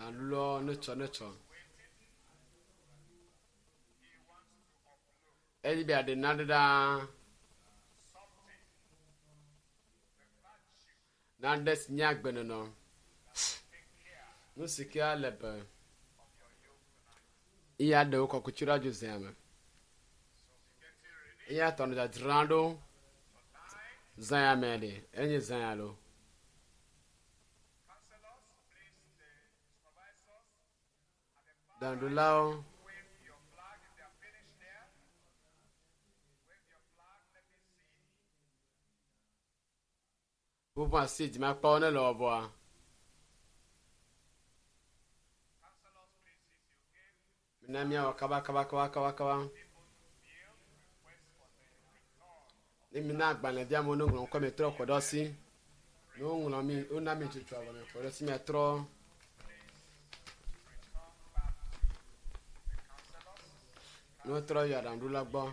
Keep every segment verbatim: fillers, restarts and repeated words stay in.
Alulɔ ne tsɔ ne tsɔ. Edi be aɖe naɖe ɖaa. Naɖe si nye agbenɔnɔ. Nu si ke ale be eya ɖewo kɔkuti ɖe adzo zea me. Eya tɔ nɔ dzadzram ɖo zã ya me ɖe enye zã ya lo. Ɖaŋuɖolawo. Woƒe asi dzimakpɔwo ne le wɔbɔa. Mina míawɔ kaba kaba kaba kaba kaba. Ne mina agbalẽvia me ne ŋlɔ ŋkɔ mi trɔ kɔ ɖe asi. Ne woŋlɔ mi wona mi tsotso avɔ mi kɔ ɖe asi miatrɔ. Ne wotrɔ yi aɖaŋuɖola gbɔ.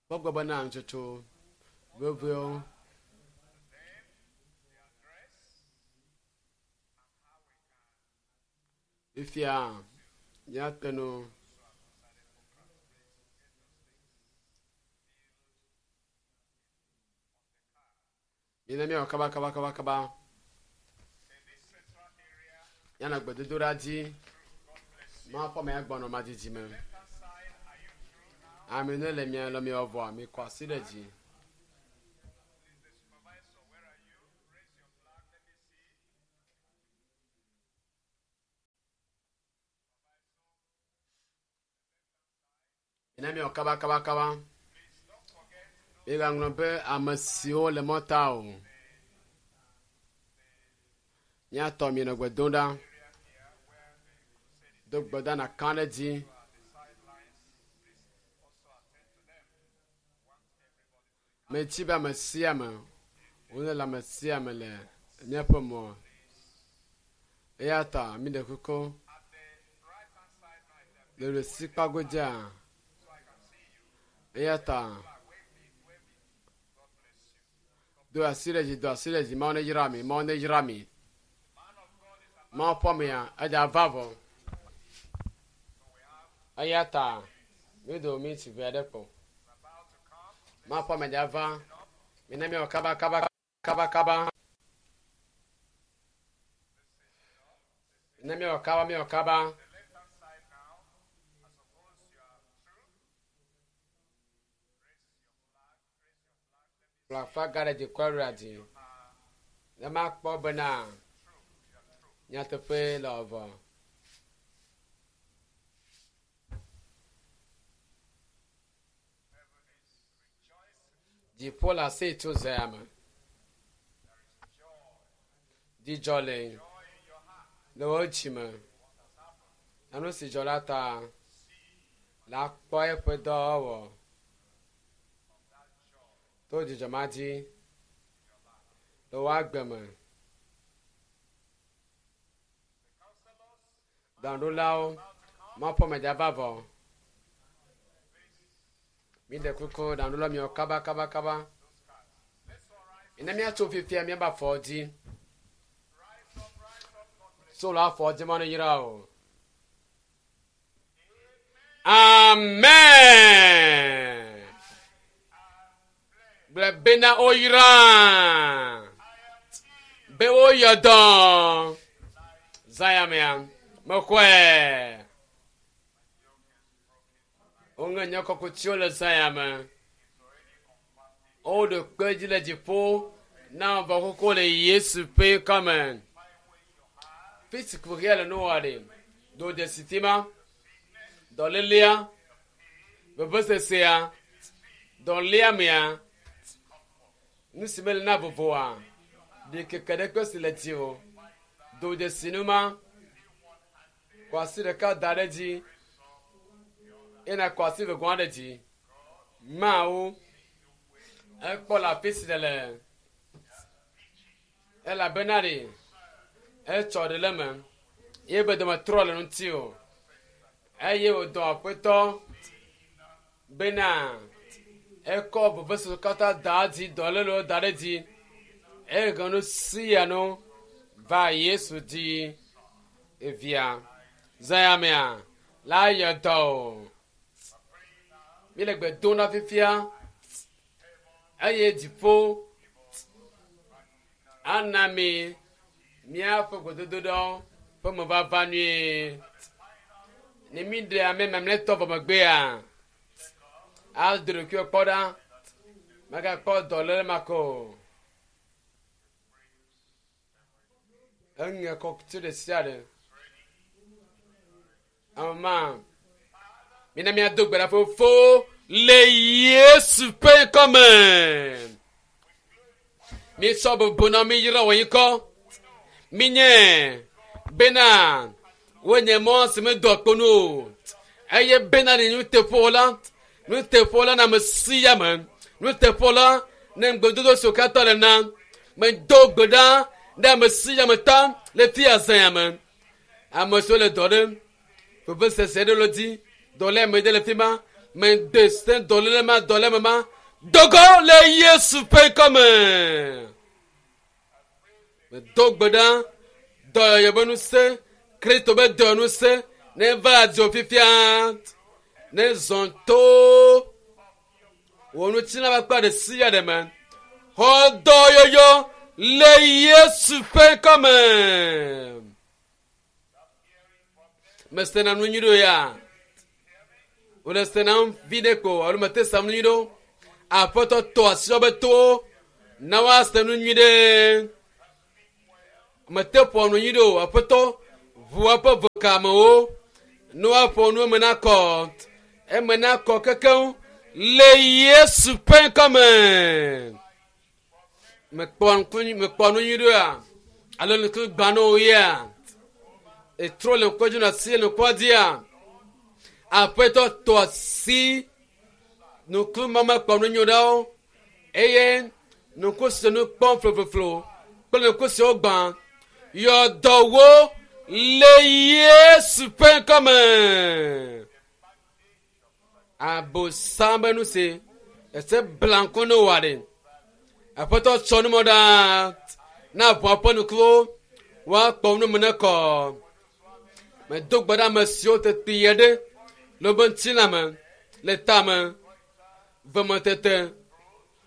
Kpɔ gbɔ bena nutsotso vevewo. Fifia míate nu. Mina míawɔ kaba kaba kaba kaba. Míanɔ gbedodoɖa dzi. Mawu ƒe ame ya gbɔnɔ madzidzi me. Ame ne le mia le miawɔ vɔa mikɔ asi ɖe dzi. Mina míawɔ kaba kaba kaba. Migaŋlɔ be ame siwo le mɔta o. Míatɔ mienɔ gbe dom ɖa. Do gbe ɖa nàka ɖe dzi. Metsi be ame sia ame wole le ame sia ame le míaƒe mɔ. Eya ta mi ɖe kuku le ɖusikpa godzia. Eya ta do asi ɖe dzi do asi ɖe dzi Mawu ne yra mi Mawu ne yra mi. Mawu ƒe amea edza va vɔ. Eya ta mi do mi tsi ʋe aɖe kpɔ. Mawu ƒe ame dza va. Mina míawɔ kaba kaba kaba kaba. Mina míawɔ kaba míawɔ kaba. Kplɔ aflaga ɖe dzi kɔ ɖe dzi. Ne makpɔ bena nyateƒe le vɔ. Dziƒo le asi tso zea me. Dzidzɔ le le wo dzime. Na nu si dzɔ la ta la kpɔ eƒe dɔwɔwɔ. To dzidzɔ ma dzi le wo agbe me. Ɖaŋuɖolawo, Mawu ƒe ame dza va vɔ. Mi ɖe kuku ɖaŋuɖola miwɔ kaba kaba kaba. Mina míatso fifia míabe afɔ dzi. Tso le afɔ dzi Mawu ne yra o. Amen. Gblɔ bena woyra. Be woyɔ dɔ. Zã mea mexɔe. Woŋe nye kɔkutiwo le zã ya me. Woɖo kpe dzi le dziƒo na vɔ xoxo le Yesu ƒe ŋkɔme. Fi si kuxia le nuwɔ ɖe. Do dzesi fi ma. Dɔlélea, vevesesea, dɔléamea, nu si mele na vovoa, ɖikeke ɖe si le dziwò. Do dzesi nu ma. Kɔ asi ɖeka da ɖe dzi. Eye nàkɔ asi vegɔa ɖe dzi. Mawu ekpɔ le afi si nèle elabena ɖe etsɔ ɖe le eme ye be dɔme trɔ le ŋuti o eye wòdɔ aƒetɔ bena Ekɔ vevesese katã da dzi dɔlélewo da ɖe dzi. Eye nu sia nu va Yesu dzi evia. Zãyamea la yɔ dɔ o. Mi le gbe dom na fifia eye dziƒo ana mi míaƒe gbedodoɖɔ ƒe mevava nyuie. Ne mi ɖe ame mamlɛtɔ vɔ megbea, ado ɖokuiwò kpɔ ɖa, megakpɔ dɔléle ma ke o. Eŋe kɔkuti ɖe sia ɖe. Ame ma, mina míado gbe ɖa fofo le Yesu ƒe ŋkɔme. Mítsɔ bubu na mi yra wò ŋkɔ. Minye bena wonye mɔ si medoa kpo nu o. Eye bena ne nuteƒewɔla, nuteƒewɔla na ame sia ame, nuteƒewɔla ne ŋugbedodo siwo katã le na. Medo gbe ɖa ɖe ame sia ame ta le fia zãya me. Ame siwo le dɔ ɖem, vevesese ɖe le dzi, dɔléame ɖe le fi ma, mede se dɔléle ma, dɔléame ma, dogo le Yesu ƒe ŋkɔme. Medo gbe ɖa, dɔyɔyɔ be ŋusẽ, Kristo be dɔyɔŋusẽ ne va dzo fifia, ne zɔ to wò ŋutilã ƒe akpa ɖe sia ɖe me. Xɔ dɔyɔyɔ le Yesu ƒe ŋkɔme. Mesena nu nyui ɖo ya. Wòle senam vi ɖe ko alo mete sam nu nyui ɖo. Aƒetɔ tɔ asi wobe towo na woase nu nyui ɖe. Mete ƒo nu nyui ɖo. Aƒetɔ ʋu eƒe vekamewo ne woaƒo nu eme nakɔ. Eme nakɔ kekeŋ le Yesu ƒe ŋkɔme. Mekpɔ ŋku mekpɔ nu nyui ɖo ya alo ŋku gbã na wò ya. Etrɔ le ŋkua dzi na asi le ŋkua dzia. Aƒetɔ tɔ asi ŋku ma mekpɔ nu nyui ɖawo eye ŋku si nu kpɔm flofloflo kple ŋku siwo gbã yɔ dɔ wo le Yesu ƒe ŋkɔme. Abosam be nu si ese bla ŋku ne wòa ɖe. Aƒetɔ tsɔ numɔ ɖa na ʋua ƒe ŋkuwo woakpɔ nu me ne kɔ. Medo gbe ɖe ame siwo tete yie ɖe le wobe ŋutilã me, le tame, vemetete,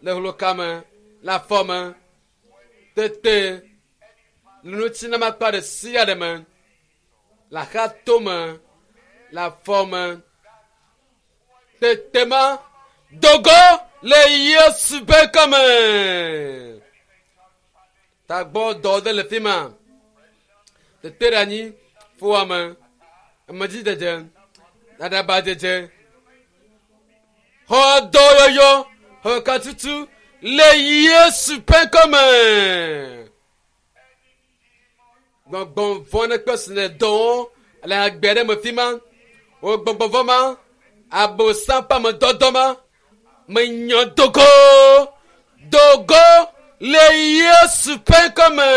le hlokame, le afɔ me, tete, le ŋutilã me akpa ɖe sia ɖe me, le axatome, le afɔ me. Tete ma dogo le Yesu ƒe ŋkɔme. Tagbɔ dɔ ɖe le fi ma. Tete ɖe anyi, fuwɔame, amedzidede, aɖabadzedze, xɔ dɔyɔyɔ, xɔ katutu le Yesu ƒe ŋkɔme. Gbɔgbɔ vɔ̃ ɖe kpe si le dɔ wɔm le agbe ɖe me fi ma. Wò gbɔgbɔ vɔ̃ ma, abosam ƒe amedɔdɔ ma, menyɔ dogo, dogo le Yesu ƒe ŋkɔme.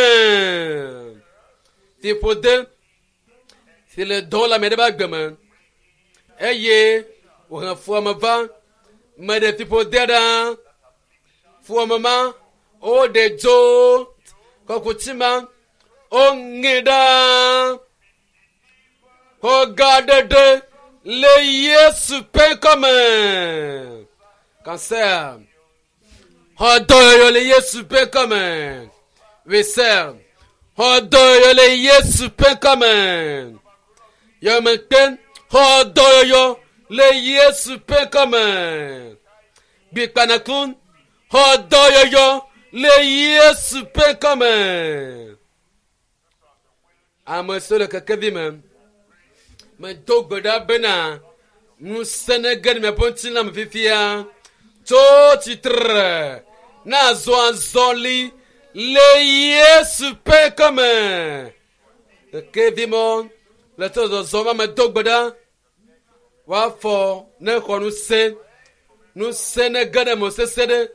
Fiƒode si le dɔ le ame ɖe ƒe agbe me eye wòhe fuwɔame va meɖe fiƒode ɖa. Fuwɔame ma woɖe dzo kɔkuti ma woŋe ɖa. Xɔgaɖeɖe le Yesu ƒe ŋkɔme. Cancer. Xɔ dɔyɔyɔ le Yesu ƒe ŋkɔme. Wesel. Xɔ dɔyɔyɔ le Yesu ƒe ŋkɔme. Yɔmekpe. Xɔ dɔyɔyɔ le Yesu ƒe ŋkɔme. Gbikpanakun. Xɔ dɔyɔyɔ le Yesu ƒe ŋkɔme. Ame siwo le kekevi me, medo gbe ɖa bena ŋusẽ nege ɖe miaƒe ŋutilã me fifia. Tso tsitre na zɔ azɔli le Yesu ƒe ŋkɔme. Kekevi mɔ le tso zɔzɔm ame do gbe ɖa. Woafɔ ne xɔ ŋusẽ. Ŋusẽ nege ɖe me sesẽ ɖe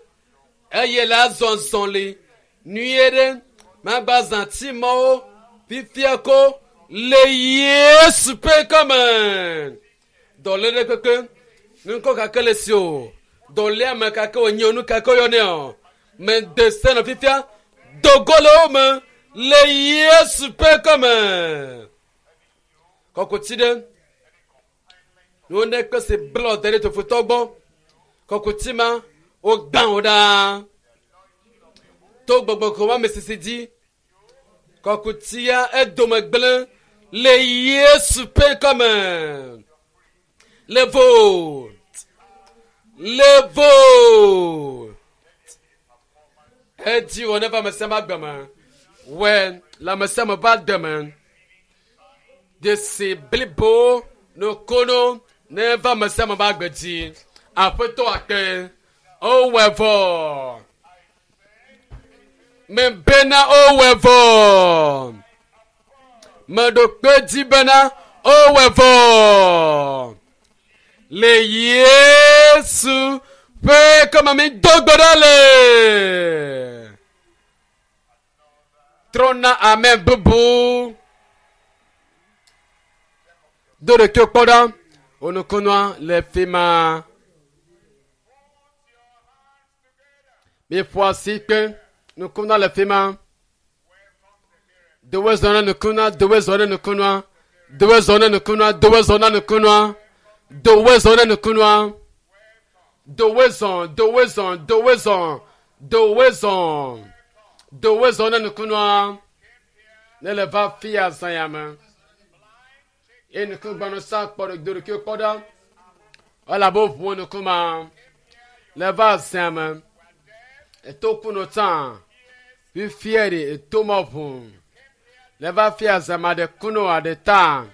eye le azɔ azɔli nyuie ɖe magba zã tsimɔwo fifia ko le Yesu ƒe ŋkɔme. Dɔléle kpekpe, ŋkɔ kake le si o. Dɔléame kake wònye o, nu kake woyɔnɛ o. Mede se nɔ fifia dogo le wo me le Yesu ƒe ŋkɔme. Kɔkuti ɖe nuwo ne kpe si blɔ da ɖe tofutɔ gbɔ. Kɔkuti ma wogbã wo ɖaa to gbɔgbɔ kɔkɔe ame sisi dzi. Kɔkutia edome gblẽ le Yesu ƒe ŋkɔme. Levo, levo. Edzi wɔ neva ame sia ame agbe me. Wɔ le ame sia ame ƒe agbe me. Dzesi blibo nukono neva ame sia ame ƒe agbe dzi. Aƒetɔ akpe. Wowɔe vɔ. Mebena wowɔe vɔ. Meɖo kpe dzi bena wowɔe vɔ. Le Yesu ƒe ŋkɔme mi do gbe ɖa le. Trɔ na ame bubu. Do ɖeke kpɔ ɖa. Onukunua le fi ma. Miƒo asi kpe. Nukunua le fi ma. Dowe zɔ na nukunua. Dowe zɔ na nukunua. Dowe zɔ na nukunua. Dowe zɔ na nukunua. Dowe zɔ na nukunua. Dowe zɔ. Dowe zɔ. Dowe zɔ. Dowe zɔ. Dowe zɔ na nukunua. Ne le va fia zã ya me. Eye nukugbanu sa kpɔ ɖe do ɖeke kpɔ ɖa. Elabe woʋu nukuma le va zã me. Eto kunu tsã. Fifia ɖe eto ma ʋu. Le va fia zã ma ɖe kunu aɖe ta.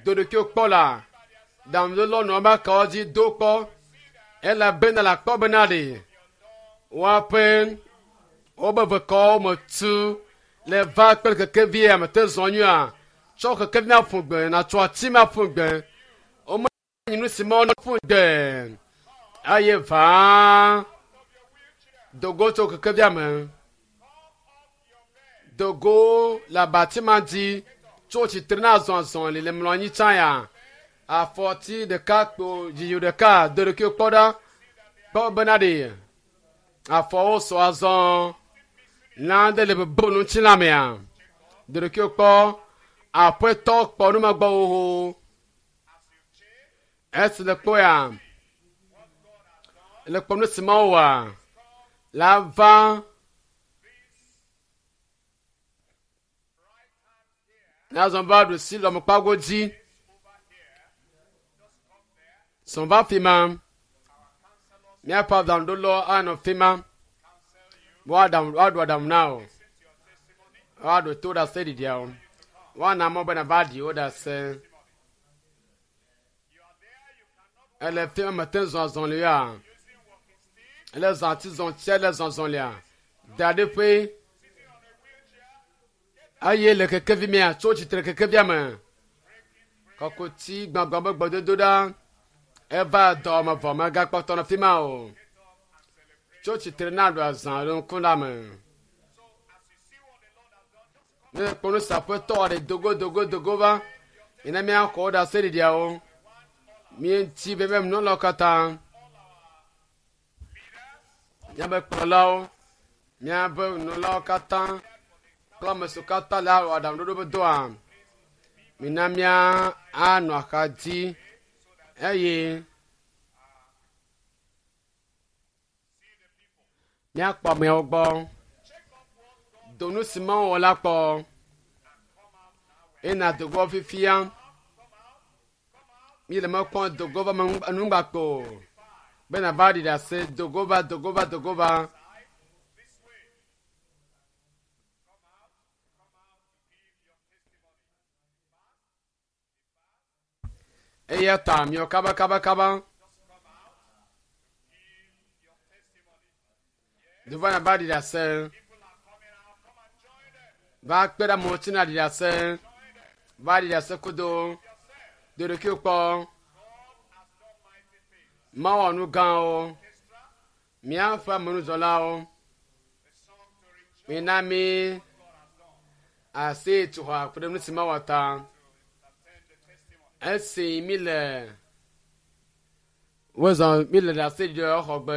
Do ɖeke kpɔ la. Ɖaŋuɖolɔ nɔ eme kawo dzi do kpɔ. Elabena le akpɔ bena ɖe woaƒe wobe vekɔwo me tu le va kple kekevi ame te zɔ nyuia. Tsɔ kekevi ma ƒu gbe natsɔ ati ma ƒu gbe. Wome nyi nu si ma ƒu gbe. Eye vaa dogo tso kekevia me. Dogo le abati ma dzi tso tsitre na azɔazɔ li le mlɔ anyi tsã ya. Afɔti ɖeka kpo dziyo ɖeka do ɖeke kpɔ ɖa. Kpɔ bena ɖe afɔwo sɔ azɔ. Lã ɖe le bebem ŋuti la mea. Do ɖeke kpɔ. Aƒetɔ kpɔ nu ma gbɔ xoxo. Esi le kpɔ ya, le kpɔ nu si ma wɔa, la va nazɔ va ɖu si lɔmekpago dzi. Sɔn va fi ma. Míaƒe aɖaŋuɖolawo anɔ fi ma. Woaɖaŋu woaɖo aɖaŋu na wò. Woaɖo to ɖase ɖiɖiawo. Woana mɔ bena va ɖi wo ɖase. Ele fi ma mete zɔ azɔlia. Ele zɔ ati zɔ tsia le zɔ azɔlia. Da ɖe ƒe. Eye le kekevi mea tso tsitre kekevia me. Kɔkuti gbãgbã be gbedodo ɖa. Eva dɔme vɔ megakpɔtɔ nɔ fi ma o. Tso tsitre na ɖu azã ɖe ŋku la me. Ne kpɔ nu si aƒetɔ ɖe dogo dogo dogo va. Mina míaxɔ wo ɖase ɖiɖiawo. Míeŋuti be míaƒe katã. Míaƒe kplɔlawo, míaƒe nunɔlawo katã kple ame siwo katã le awɔ aɖaŋuɖoɖo be dɔa. Mina mía anɔ axa dzi eye míakpɔ ameawo gbɔ. Do nu si Mawu wɔ la kpɔ. Ena dogo fifia. Mi le mekpɔ dogo va enugbakpo. Bena va ɖi ɖase dogo va dogo va dogo va. Eya ta miɔ kaba kaba kaba. Do va na va ɖi ɖase. Va kpe ɖe amewo ŋuti na ɖi ɖase. Va ɖi ɖase kudo. Do ɖokuiwò kpɔ. Mawɔ nu gãwo. Míaƒe amenudzɔlawo. Mina mí asi tu xɔ ku ɖe nu si mawɔ ta. Esi mi le Wozɔ mi le ɖase ɖi xɔgbe.